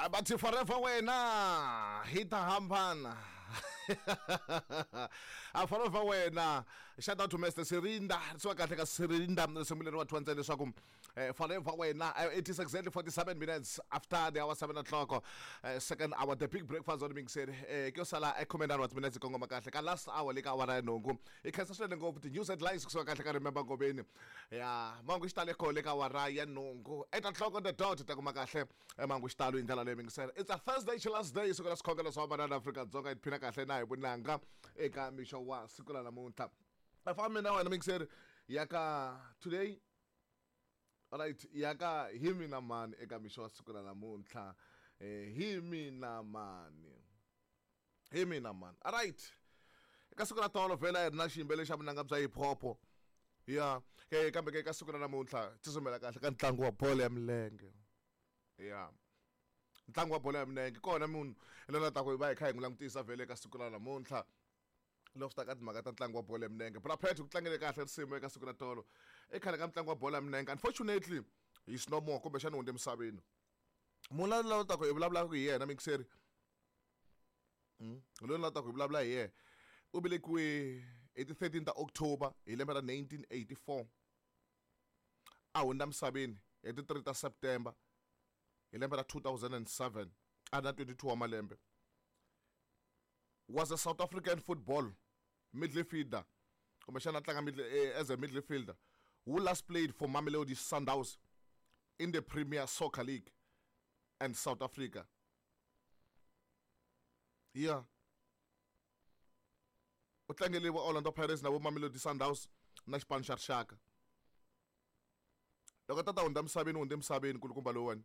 Bathi forever wena hi ta hambana a forever wena. Shout out to Mr Sirinda, risiwa kahle ka Sirinda, risimu leri wa twa ntsena leswaku forever wena. It is exactly 47 minutes after the hour 7 o'clock, second hour, the big breakfast on mixer. Ke yo sala 19 wa timinetse kongoma kahle ka last hour le ka awara ya nhungu. Hi khensa swinene ngopfu ti-news headlines kusuka kahle ka Remember Ngobeni ya mangu xitalo kho le ka awara ya nhungu, 8 o'clock on the dot, ta kuma kahle mangu xitalo hi ndlela leyi mingisela. It's a Thursday, last day, siku ra swikhongelo swa vamanana Afrika-Dzonga. Hi tiphina kahle na hi vunanga eka mixo wa siku ra namuntlha. A fambi na wena mingiseri ya ka today, right, ya ka hi mina mani eka mixo wa siku ra namuntlha. Hi mina mani, hi mina mani. Alright, eka siku ra tolo vhela hi ri na xiyimbeleri xa vunanga bya hip hop ya kambe ke eka siku ra namuntlha tsutsumela kahle ka ntlangu wa bolo ya milenge. Ya ntlangu wa bolo ya milenge kona munhu lona ta ku hi va hi kha hi n'wi langutisa vhele eka siku ra namuntlha loko swi ta ka timhaka ta ntlangu wa bolo ya milenge. Brapet ku tlangele kahle risimu eka siku ra tolo ekhale ka ntlangu wa bolo ya milenge. Unfortunately he's no more, kumbexana hundze emisaveni. Munhu la ta ku hi vulavulaka hi yena mixeri, loyi la ta ku hi vulavula hi yena, u velekiwe hi ti 13 ta October hi lembe ra 1984, a hundza misaveni hi ti 3 ta September hi lembe ra 2007, a ri na 22 wa malembe. Was a South African football midfielder, kumbexana a tlanga as a midfielder, who last played for Mamelodi Sundowns in the Premier Soccer League and South Africa. Yeah, u tlangele va Orlando Pirates na vo Mamelodi Sundowns na xipano xa rixaka. Loko tata hundza misaveni, hundze misaveni kulukumba lowuwani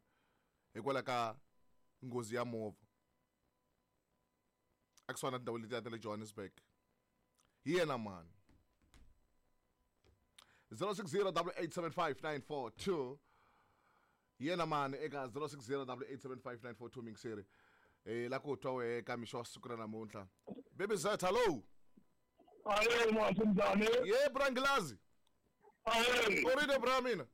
hikwalaho ka nghozi ya movha a kusuhani na tindhawu letiya ta le Johannesburg. Hi yena mani? 060 8875942. Hi yena mani eka 060 8875942? Mingiseri la ku twa wehe ka mixo wa siku ra namuntlha. Baby Z, hello. Aye, mwantu njani? Ye brangilazi. Aye. U ri bra mina?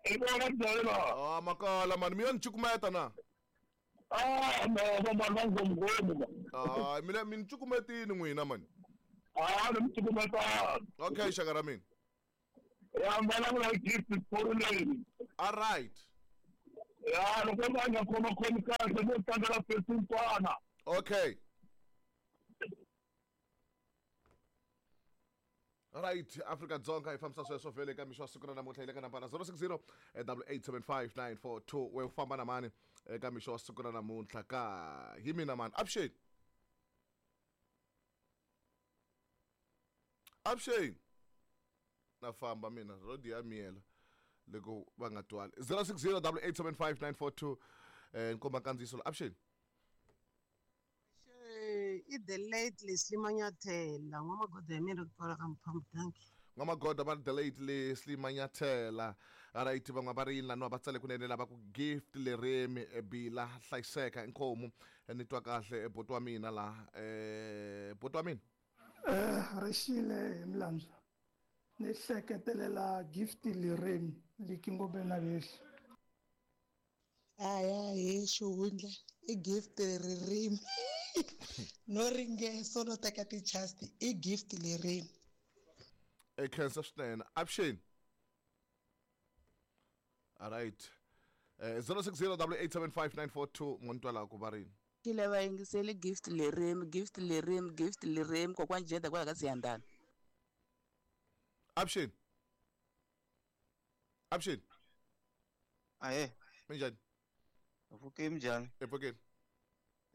Ibona njani la? Ah, makala mani, mi yo ni cukumeta na. Ah, no, va mani va ngomngomu. Ah, mina mi ni cukumetini n'wina mani. Ah, ni mi cukumetani. Okay, xaka ra mina. Ya vulavula hi gift sporuleni. All right. Ya, loko va nga khoma khomi kahle mo tlangela fesinkwana. Okay. Right, Afrika Dzonga hi fambisa sweswo vhele eka mixo wa siku ra namuntlha hi le ka nambara 060 8875942. We u famba na mani eka mixo wa siku ra namuntlha ka hi mina mani? Avuxeni, avuxeni. Na famba mina, rodi ya miyela loko va nga twali. 060 8875942, nkomba nkandziyiso. Avuxeni. I the late Leslie Manyathela, n'wamagoda ya mina ku twala ka mphambu. Thank you. N'wamagoda va ri the late Leslie Manyathela. Right, van'wana va ri yini laniwa? Va tsale kunene lava ku gift leremi bila hlayiseka. Inkomu, ni twa kahle buti wa mina laha, buti wa mina. Rixile hi milandzu, ni hleketelela gift leremi liki ngombe na lexi. Aya hi xihundla i gift ririmi no ringeso no teka ti-chance, i gift lerimi. E khensa swinene. Avuxeni. Alright, 060 8875942, n'wani ku va rini? Xile va yingiseli gift lerimi, gift lerimi, gift lerimi, kokwani Jeda kwala ka Siyandana. Avuxeni, avuxeni. Ahe. Minjhani? Pfukeni, minjhani? Epfukeni.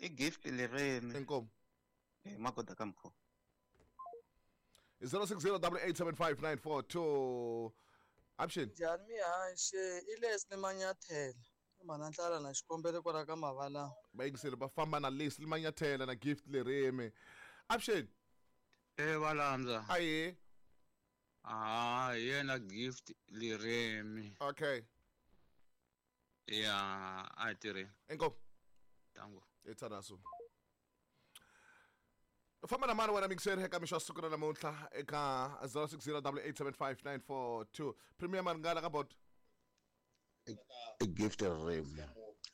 I gift lerimi. Inkomu. Hi magoda ka mkho. 060 8875942. Avuxeni. Njhani mihaxe? I Leslie Manyathela, i mhana ntlala na xikombelo kwala ka mavala. Vayingiseri va famba na Leslie Manyathela na gift lerimi. Avuxeni. E valandza. Aye. Ah, hi yena gift lerimi. Okay. Ya, a hi tirheni. Inkomu. Tango. Ethanaso famba na mani wena mixer eka mixo wa siku ra namuntlha eka 060 8875942? Premier Maringana ka bot. I gift ririmi,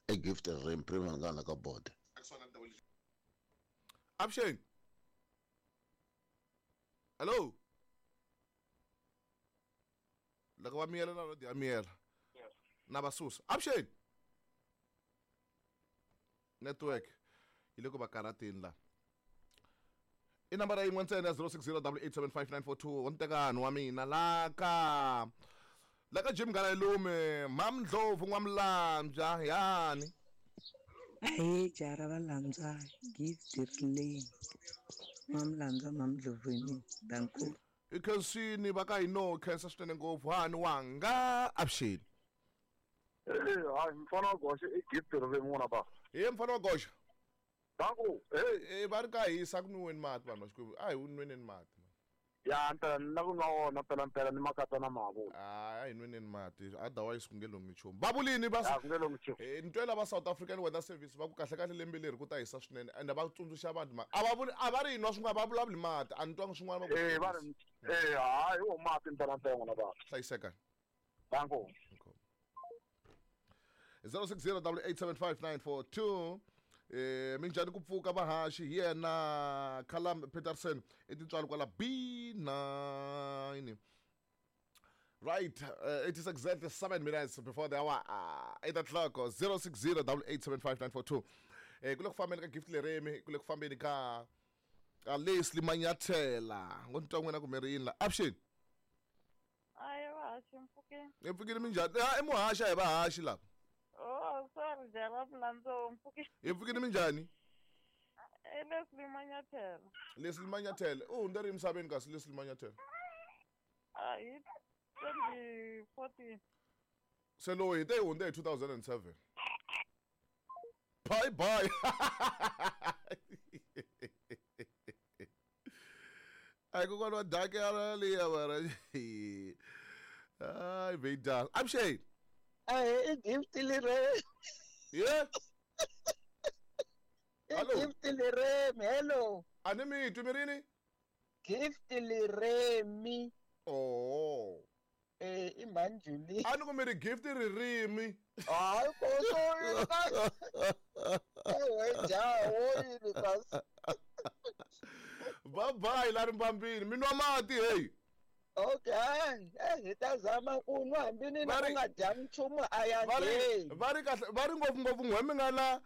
i I Gift Ririmi Primangana ka Bode. Avuxeni. Hello. Loko va miyela na radio ya miyela. Na va susa. Avuxeni. Network yi le ku va karhateni la. I nambara yin'we ntsena ya 0608875942 wa ntekani wa mina la ka la ka Jim Ngalalume Mamndlovu N'wamulambya yani. Ahee jaha ra Valambya Gift Rileni N'wamulambya Mamndlovu hi mina Dankulu. I khensini va ka hino khensa swinene ngopfu hani wanga avuxeni. Hayi mfana wa goxa i Gift Ririmi n'wana ba. Hi mfana wa goxa. Danku. Eh va ri ka hisa ku nwiweni mati vanhu va Xikwembu. A hi nweneni mati. Ya mpela ni na ku nwa wona mpela mpela ni makata na mavula. A hi nweneni mati otherwise ku nge longi nchumu. Va vulini va Ya ku nge longi nchumu. Ni twela va South African Weather Service va ku kahle kahle lembe leri ku ta hisa swinene ende va tsundzuxa vanhu ma a va vuli a va ri hi nwa swin'wana va vulavuli mati a ni twangi swin'wana va ku Eh va ri eh hayi wo mati mpela mpela n'wana ba. Hlayiseka. Danku. 0608875942 minjhani ku pfuka vahaxi hi yena Callum Peterson i tintswalo kwala B9. Right, it is exactly 7 minutes before the hour 8 o'clock. 0608875942. Ku le ku fambeni ka Gift Leremi, ku le ku fambeni ka Leslie Manyathela. Ngo ni twa n'wina kumbe ri yini la. Avuxeni. Ayi vahaxi mpfukeni. Hi pfukile minjhani? I muhaxi a hi vahaxi lava. Oh, sorry, jaha ra Mlandzo mpfukeni. Hi pfukile minjhani? I Leslie Manyathela. Leslie Manyathela. U hundze ri emisaveni kasi Leslie Manyathela. Hi 2014. Se lowu hi te hi hundze hi 2007. Bye bye. Ai kokwana wa dake ya liya mara. Ai veida. Avuxeni. Ahee i Gift Leremi. Yeah. I Gift Leremi. Hello. A ni mi twi mi rini? Gift Leremi. Oh. I mhani Julie. A ni ku mi ri Gift Ririmi. Hayi koso ewe jaha wo yini kasi. Bye bye la rimbambini. Mi nwa mati hey. Okay, hi ta zama ku nwa hambi ni na ku nga dyangi nchumu a ya ngheni. Va ri kahle va ri ngopfu ngopfu n'we mi nga la